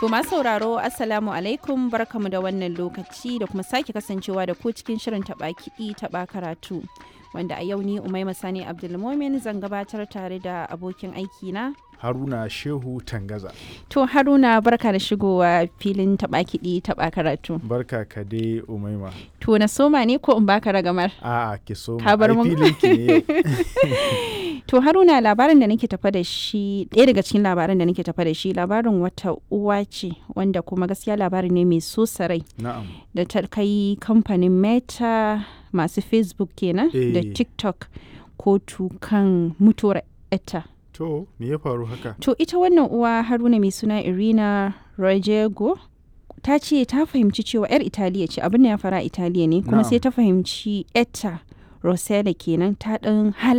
To masu sauraro, Assalamu alaikum, barkamu da wannan lokaci da kuma sake kasancewa da ku cikin shirin taɓa kiɗi taɓa karatu. Wanda a yau ni Umaima Sani Abdulmomin zan gabatar tare da abokin aiki na Haruna Shehu Tangaza. To Haruna, barka da shigowa filin taɓa kiɗi taɓa karatu. Barka ka dai, Umaima. To na soma ne ko in baka ragamar? A'a, ki so Ka bar mun. Filin ki ne yau. To Haruna, labarin da nake tafa da shi, ɗaya daga cikin labaran da nake tafa da shi, labarin wata uwa ce wanda kuma gaskiya labari ne mai so sarai da ta kai kamfanin Meta, masu Facebook kenan, da TikTok kotu kan mutuwar etta. To me ya faru haka? To ita wannan uwa, Haruna, mai suna Irina Rojego, ta ce ta fahimci cewa 'yar Italiya ce, abin da ya fara Italiya ne, kuma sai ta fahimci etta Rosella kenan ta ɗan hala